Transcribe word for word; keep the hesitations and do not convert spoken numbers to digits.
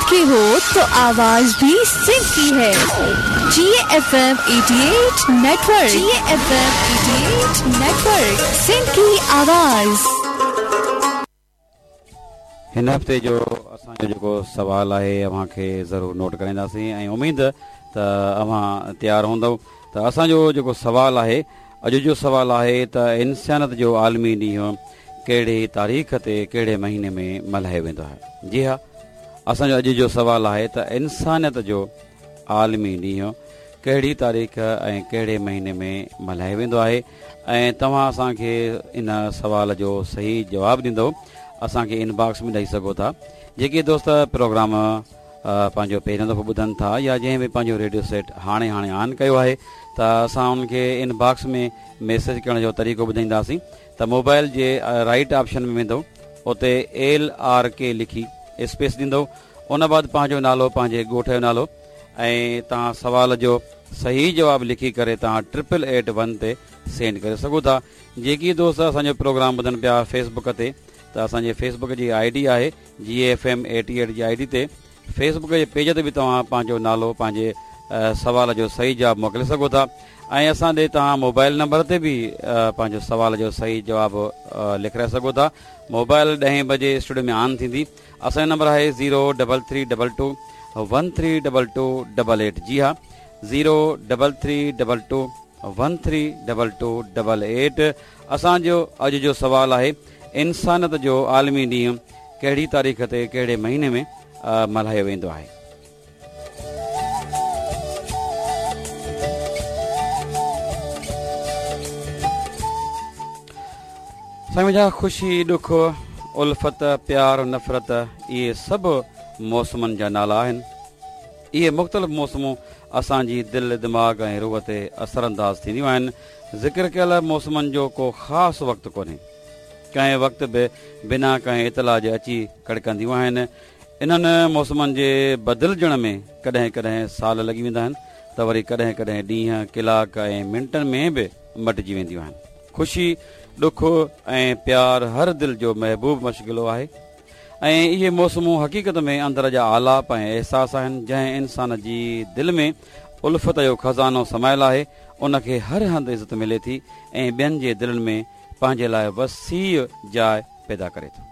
सिंध की हो तो आवाज भी सिंध की है। G F M eighty eight network, G F M eighty eight network, Sindh की आवाज। हिन हफ़्ते जो असांजो जेको सवाल आहे अव्हां खे ज़रूरु नोट कराईंदासीं ऐं उमेद त अव्हां तयारु हूंदव। त असांजो जेको सवाल आहे, अॼु जो सवाल आहे त इंसानियत जो आलमी ॾींहुं कहिड़ी तारीख़ ते कहिड़े महीने में मल्हायो वेंदो आहे? जी हा, असांजो अॼु जो सवाल आहे त इंसानियत जो आलमी ॾींहुं कहिड़ी तारीख़ ऐं कहिड़े महीने में मल्हायो वेंदो आहे? ऐं तव्हां असांखे इन सवाल जो सही जवाबु ॾींदव, असांखे इनबॉक्स में ॾेई सघो था। जेके दोस्त प्रोग्राम पंहिंजो पहिरियों दफ़ो ॿुधनि था या जंहिं बि पंहिंजो रेडियो सेट हाणे हाणे ऑन कयो आहे त असां उनखे इनबॉक्स में मैसेज करण जो तरीक़ो ॿुधाईंदासीं। त मोबाइल जे राइट ऑप्शन में वेंदव, उते एल आर के लिखी स्पेस ॾींदव, उन बाद पंहिंजो नालो, पंहिंजे ॻोठ जो नालो ऐं तव्हां सवाल जो सही जवाबु लिखी करे तव्हां ट्रिपल एट वन ते सेंड करे सघो था। जेकी दोस्त असांजो प्रोग्राम ॿुधनि पिया फेसबुक ते, त असांजे फेसबुक जी I D आहे G F M eighty eight ji I D ते फेसबुक जे पेज ते बि तव्हां पंहिंजो नालो, पंहिंजे सवाल जो सही जवाबु मोकिले सघो था। ऐं असां ॾे तव्हां मोबाइल नंबर ते बि पंहिंजो सवाल जो सही जवाबु लिखाए सघो था। मोबाइल ॾहें बजे स्टूडियो में ऑन थींदी। असांजो नंबर आहे zero double three double two one three double two double eight. जी हा, zero double three double two one three double two double eight. असांजो अॼु जो सवाल आहे, इंसानियत जो आलमी ॾींहुं कहिड़ी तारीख़ ते कहिड़े महीने में मल्हायो वेंदो आहे? साईं मुंहिंजा, ख़ुशी, ॾुख, उल्फत, प्यार, नफ़रत, इहे सभु मौसमनि जा नाला आहिनि। इहे मुख़्तलिफ़ मौसमूं असांजी दिलि, दिमाग़ ऐं रूह ते असरअंदाज़ थींदियूं आहिनि। ज़िक्र कयल मौसमनि जो को ख़ासि वक़्तु कोन्हे, कंहिं वक़्तु बि बिना कंहिं इतला जे अची कड़कंदियूं आहिनि। इन्हनि मौसमनि जे बदिलजण में कॾहिं कॾहिं साल लॻी वेंदा आहिनि त वरी कॾहिं कॾहिं ॾींहं, कलाक ऐं मिंटनि में बि मटिजी वेंदियूं आहिनि। ख़ुशी, ॾुख ऐं प्यार हर दिलि जो महबूब मशगिलो आहे ऐं इहे मौसमूं हक़ीक़त में अंदरि जा आलाप ऐं अहसास आहिनि। जंहिं इंसान जी दिलि में उल्फत जो ख़ज़ानो समायल आहे, उनखे हर हंधि इज़त मिले थी ऐं ॿियनि जे दिलनि में पंहिंजे लाइ वसीअ जाइ पैदा करे थो।